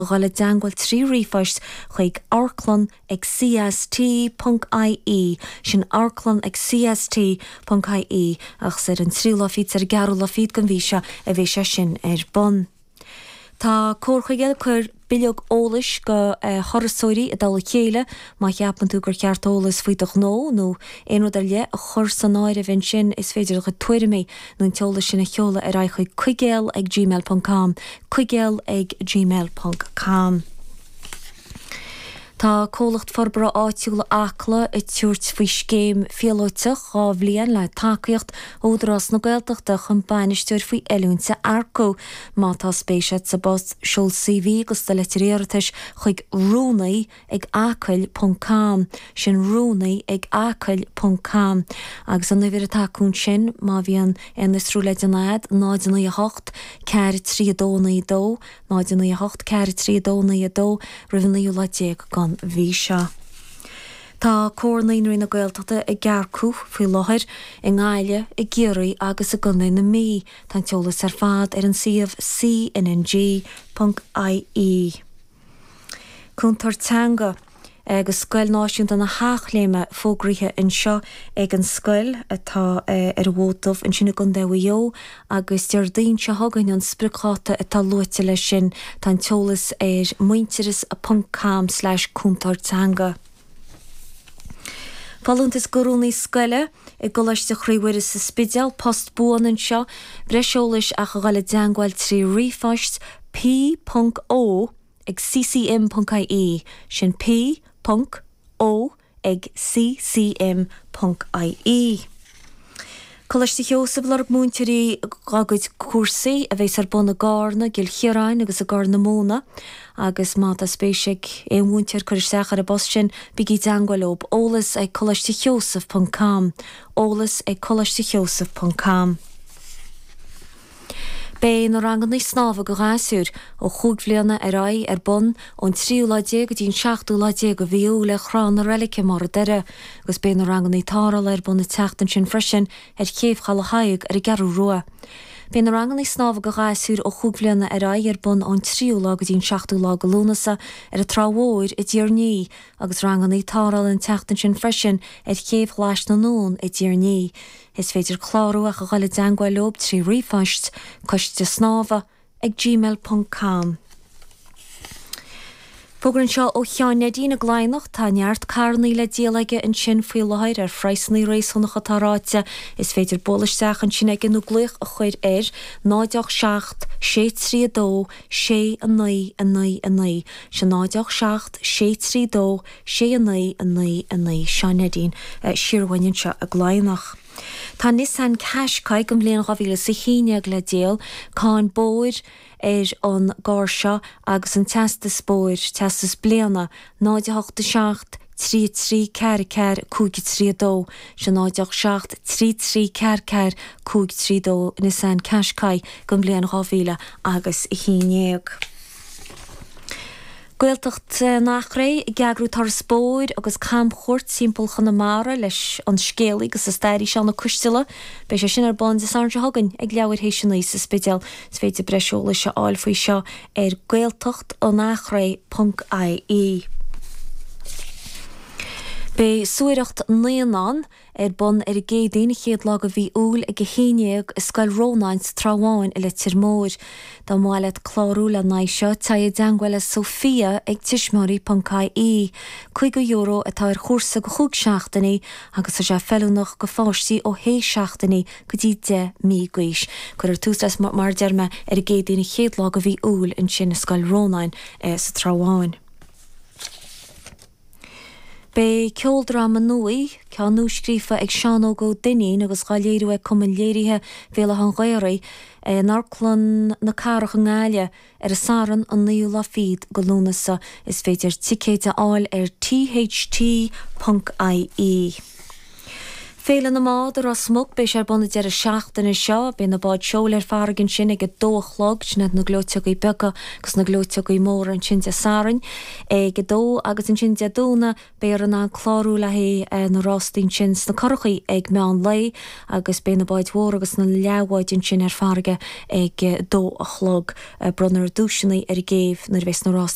A dhul i dteangmháil 3 ríomhphost chuig amharclann ag cst ponc ie, sin amharclann ag cst ponc ie, agus ar an tríú lá fichead is ar an gceathrú lá fichead den mhí seo a bheidh sé sin ar bun. Tá Comhar Chuigéil ag cur bileog eolais go thurasóirí i dtoll a chéile. Má cheapann tú gur cheart eolas faoi do ghnó nó aon rud ar leith a chur san áireamh ansin, is féidir do chuid tuairimí nó an t-eolas sin a sheoladh ar aghaidh chuig cuigéal ag gmail ponc com, cuigéal ag gmail ponc com. Tá Comhlacht Forbartha Áitiúla Acla ag tabhairt faoi scéim phíolóiteach 2 bhliain le tacaíocht ó Údarás na Gaeltachta chun bainisteoir faoi oiliúint a earcú. Má tá spéis agat sa bpost, seol CV agus do leitir iarratais chuig rúnaí ag acaill ponc com, sin rúnaí ag acaill ponc com. Agus an uimhir atá acu ansin, má bhíonn aon fhiosrú le déanamh agat, 0 9 8 4 3 2 9 2, 0 9 8 4 3 2 9 2, roimh an naoú lá déag den mhí seo. Tá Comhar Naíonraí na Gaeltachta ag earcú faoi láthair i nGaillimh, i gCiarraí agus i gContae na Mí. Tá an t-eolas ar fad ar an suíomh cnng ponc ie. Cúntóir teanga agus Scoil Náisiúnta na hEachléime fógraithe anseo ag an scoil atá ar an bhFód Dubh ansin i gContae Mhaigh Eo agus Déardaoin seo chugainn an spriocdháta atá luaite leis sin. Tá an t-eolas ar muintearas ponc com slash cúntóir teanga. Folúntas go rúnaí scoile i gColáiste Chroí Mhuire sa Spidéal, post buan anseo. Breis eolais ach a dhul i dteangmháil 3 ríomhphost, p ponc o ag ccm ponc ie, sin p ponc o ag ccm ponc ie. Coláiste Sheosaimh ag lorg múinteoirí dá gcuid cúrsaí a bheas ar bun i gCarna, i gCill Chiaráin agus i gCorr na Móna agus má tá spéis ag aon mhúinteoir cur isteach ar an bpost sin, bígí i dteangmháil leob, eolas ag coláistesheosaimh ponc com, eolas ag coláistesheosaimh ponc com. Beidh na ranganna snámha go ghasúir ó chúig bhliana ar aghaidh ar bun ón tríú lá déag go dtí an seachtú lá déag de mhí Iúil ar Thrá na Reilice i mBarr an Doire agus beidh na ranganna tarrthála ar bun an tseachtain sin freisin ar Chéibh Chaladh Thaidhg ar an gCeathrú Rua. Beidh na ranganna snámha go ghasúir ó chúig bhliana ar aghaidh ar bun ón tríú lá go dtí an seachtú lá de Lúnasa ar an Trá Mhór i dTír an Fhia agus ranganna tarrthála an tseachtain sin freisin ar Chéibh Ghlais na nDún i dTír an Fhia. Is féidir clárú ach a dhul i dteangmháil leob 3 ríomhphost, coiste snámha ag gmail ponc com. Fógra anseo ó Sheán Neidín i gCladhnach. Tá neart carrannaí le díol aige ansin faoi láthair ar phraghsannaí réasúnacha atá ráite. Is féidir bualadh isteach ansin aige nó glaoch a chur air, 0 8 7 6 3 2 6 9 9 9. Sin 0 8 7 6 3 2 6 9 9 9 Seán Neidín siar uainn anseo i gCladhnach. Tá Nissan Qashqai den bhliain 2011 le díol, cáin bóthair ar an gcarr seo agus an teastas bóthair, teastas bliana, 0 8 7 3 3 4 4 5 3 2, sin 0 8 7 3 3 4 4 5 3 2 Nissan Qashqai den bhliain 2000 agus 11. Gaeltacht an Eachréidh ag eagrú turas bóthair agus camchuairt timpeall Chonamara leis an scéalaí agus an staraí Seán Ó Coisteala. Beidh sé sin ar bun Dé Sathairn seo chugainn ag leathuair théis a 9 sa Spidéal. Is féidir breis eolais a fháil faoi seo ar gaeltachtanachréidh ponc ie. Beidh suathaireacht naíonán Ar bun ar an gCéadaoin, an chéad lá de mhí Iúil ag 11 i Scoil Rónáin sa Trá Bháin i Leitir Móir. Dá mba mhaith leat clárú le n-aghaidh seo, téigh i dteangmháil le Sophia ag tuismitheoirí.ie. €50 atá ar chúrsa go chúig seachtainí agus tá sé feiliúnach go pháistí ó shé seachtainí go dtí 10 mí d'aois. Cuirfear tús leis mar a deir mé ar an gCéadaoin an chéad lá de mhí Iúil ansin i Scoil Rónáin sa Trá Bháin. Beidh ceoldráma nua, ceann nuascríofa ag Seán Óg Ó Duinnín agus dhá léiriú ag Cumann Léirithe Bhéal Átha an Ghaorthaidh, in Amharclann na Cathrach i nGaillimh ar an Satharn an naoú lá fichead de Lúnasa. Is féidir ticéid a fháil ar tht ponc ie. Féile na mBád i Ros Muc, beidh sé ar bun an deireadh seachtaine seo. Beidh na báid seoil ar farraige ansin ag a dó a chlog, sin iad na gleoiteogaí beaga agus na gleoiteogaí móra ansin Dé Sathairn ag a dó agus ansin Dé Domhnaigh beifear in ann clárú le haghaidh na rástaí ansin sna curachaí ag meán lae agus beidh na báid mhóra agus na leathbháid ansin ar farraige ag a dó a chlog. Bronnfar duaiseanna ar an gcéibh nuair a bheas na rástaí.